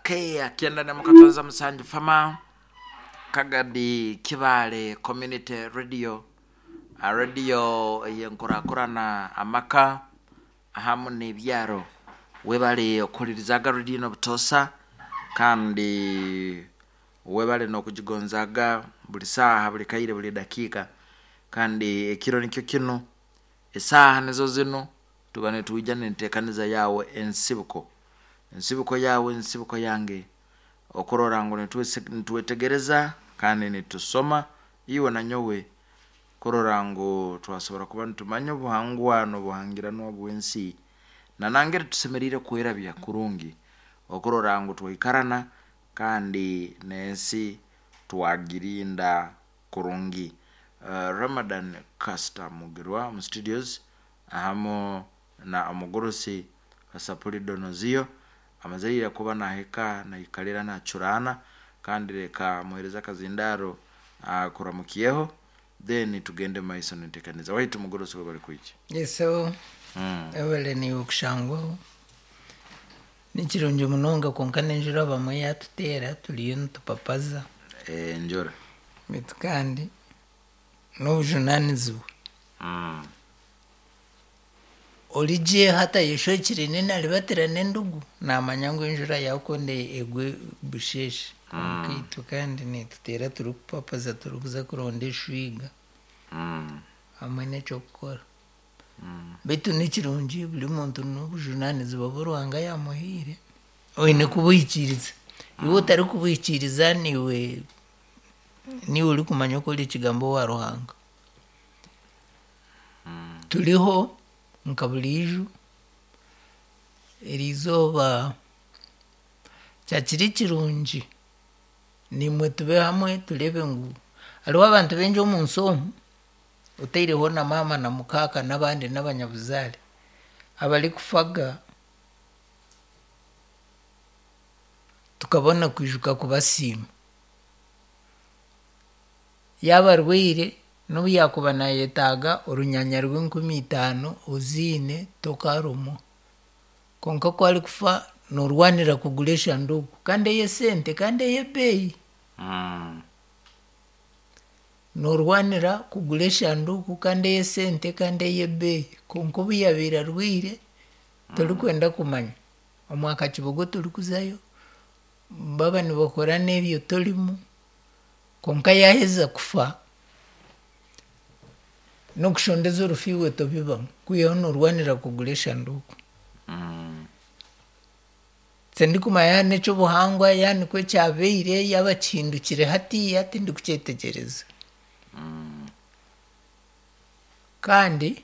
K akienda mukatonza musanju fama Kagadi Kibaale Community Radio Radio eyenkurakurana amaka ahamu n'ebyaro. Webale okuhuririzaga radio eno obutoosa kandi webale n'okugigonzaga buri saaha, buri kaire, buri dakiika. Kandi ekiro nikyo kinu, esaaha nizo zinu, tuba nitwija n'enteekaniza yaawe Ensibuko. Ensibuko yaawe, ensibuko yange, okurora ngu nitwetegereza kandi nitusoma iwe na nyowe kurora ngu twasobora kuba nitumanya obuhangwa n'obuhangiranwa bw'ensi na nangeri tusemeriire kwerabya kurungi okurora ngu twaikarana kandi n'ensi twagirinda kurungi. Ramadan Caster Mugirwa omu studios ahamu na omugurusi Kasapuli Donozio amaze ira kuba nahika naikalira nacuraana kandi leka muhereze akazindaaro akuramukyeho then tugende mumaiso nentekaniza. Waitu mugurusi webale kwija. Yes, webale naiwe kushangwaho. Nikirungi munonga kwonka n'enjura bamwe yatuteera turiyo nitupapaza. Enjura. Beitu kandi n'obujunanizibwa. Ori gye hati ayeshwekire n'enaribatira n'endugu naamanya ngu enjura yaakonda egwe busheeshe. Kwonka itwe kandi neetuteera turikupapaza turikuza kuronda eshwiga hamwe n'eky'okukora. Beitu nikirungi buri muntu n'obujunanizibwa obu Ruhanga yaamuhaire oine kubuhikiiriza. Iwe otarikubuhikiiriza niiwe niiwe orikumanya oku ori ekigambo owa Ruhanga. Turiho nka buriijo, eriizooba kyakiri kirungi naimwe tube hamwe tureebe ngu hariho abantu baingi omu nsi omu otaireho na maama na mukaaka n'abandi n'abanyabuzaare abarikufaga tukabona kwijuka kubasiima. Yaaba arwaire n'obu yaakuba naayetaaga orunyanya rw'enkumi itaano oziine tokaarumwa. Kwonka ku arikufa noorwanira kugura eshanduuku kandi ey'esente kandi ey'ebeeyi. Noorwanira kugura eshanduuku kandi ey'esente kandi ey'ebeeyi. Kwonka obu yaabaire arwaire torikwenda kumanya. Omwaka kibogo torikuzayo, baaba nibakora n'ebyo torimu, kwonka yaaheza kufa n'okushondeza orufu iwe tobibamu kwihaho noorwanira kugura eshanduuku. Tindikumanya yaaba n'eky'obuhangwa yaaba nikwo kyabaire yaaba kihindukire hatiiya tindikukyetegyereza. Kandi.